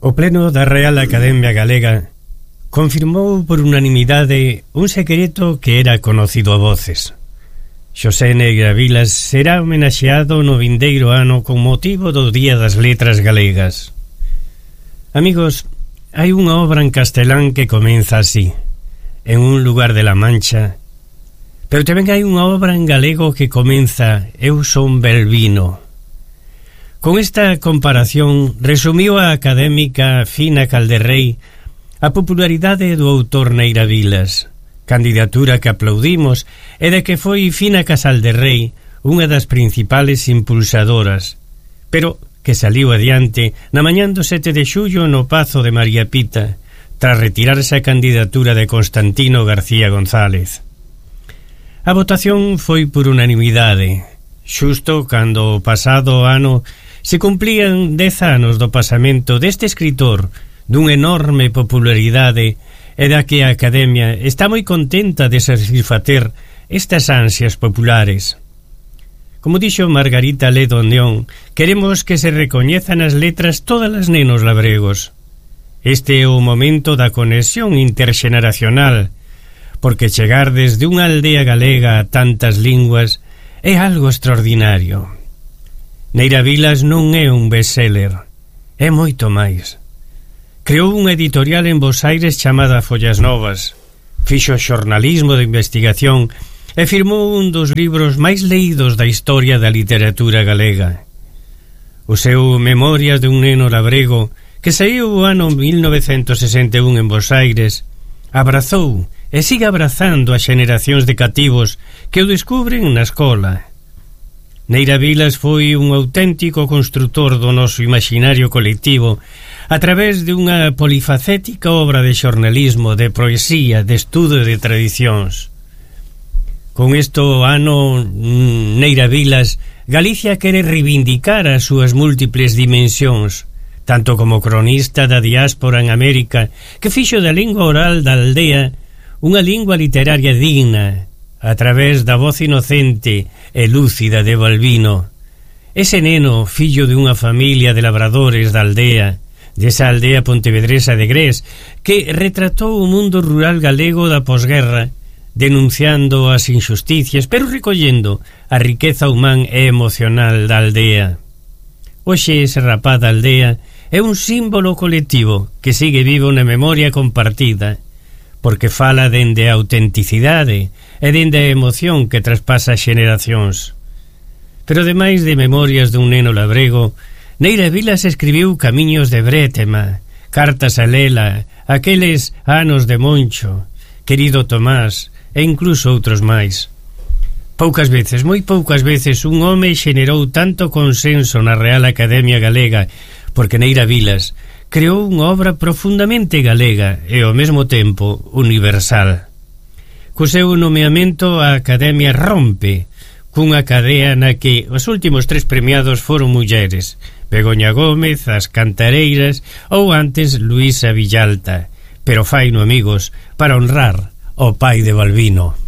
O pleno da Real Academia Galega confirmou por unanimidade un secreto que era conocido a voces. Xosé Neira Vilas será homenaxeado no vindeiro ano con motivo do Día das Letras Galegas. Amigos, hai unha obra en castelán que comeza así, en un lugar de La Mancha, pero tamén hai unha obra en galego que comeza Eu son Belvino. Con esta comparación resumiu a académica Fina Calderrey a popularidade do autor Neira Vilas, candidatura que aplaudimos e de que foi Fina Casalderrey unha das principales impulsadoras, pero que saliu adiante na mañán do 7 de xullo no Pazo de María Pita, tras retirarse a candidatura de Constantino García González. A votación foi por unanimidade, xusto cando o pasado ano se cumplían 10 anos do pasamento deste escritor dunha enorme popularidade e da que a Academia está moi contenta de satisfacer estas ansias populares. Como dixo Margarita Ledo Neón, queremos que se recoñezan as letras todas as nenos labregos. Este é o momento da conexión interxeneracional, porque chegar desde unha aldea galega a tantas linguas é algo extraordinario. Neira Vilas non é un bestseller, é moito máis. Creou unha editorial en Bos Aires chamada Follas Novas, fixo xornalismo de investigación e firmou un dos libros máis leídos da historia da literatura galega. O seu Memorias de un neno labrego, que saíu o ano 1961 en Bos Aires, abrazou e sigue abrazando a xeneracións de cativos que o descubren na escola. Neira Vilas foi un auténtico construtor do noso imaginario colectivo a través de unha polifacética obra de xornalismo, de poesía, de estudo e de tradicións. Con isto ano Neira Vilas, Galicia quere reivindicar as súas múltiples dimensións, tanto como cronista da diáspora en América, que fixo da lingua oral da aldea unha lingua literaria digna, a través da voz inocente e lúcida de Balbino. Ese neno, fillo de unha familia de labradores da aldea, desa aldea pontevedresa de Grés, que retratou o mundo rural galego da posguerra, denunciando as injusticias, pero recollendo a riqueza humán e emocional da aldea. Hoxe ese rapaz da aldea é un símbolo colectivo que sigue vivo na memoria compartida, porque fala dende a autenticidade e dende a emoción que traspasa xeneracións. Pero ademais de Memorias dun neno labrego, Neira Vilas escribiu Camiños de Brétema, Cartas a Lela, Aqueles anos de Moncho, Querido Tomás e incluso outros máis. Poucas veces, moi poucas veces, un home xenerou tanto consenso na Real Academia Galega, porque Neira Vilas creou unha obra profundamente galega e ao mesmo tempo universal. Co seu nomeamento a Academia rompe cunha cadea na que os últimos 3 premiados foron mulleres, Begoña Gómez, As Cantareiras ou antes Luísa Villalta, pero faino, amigos, para honrar ao pai de Balbino.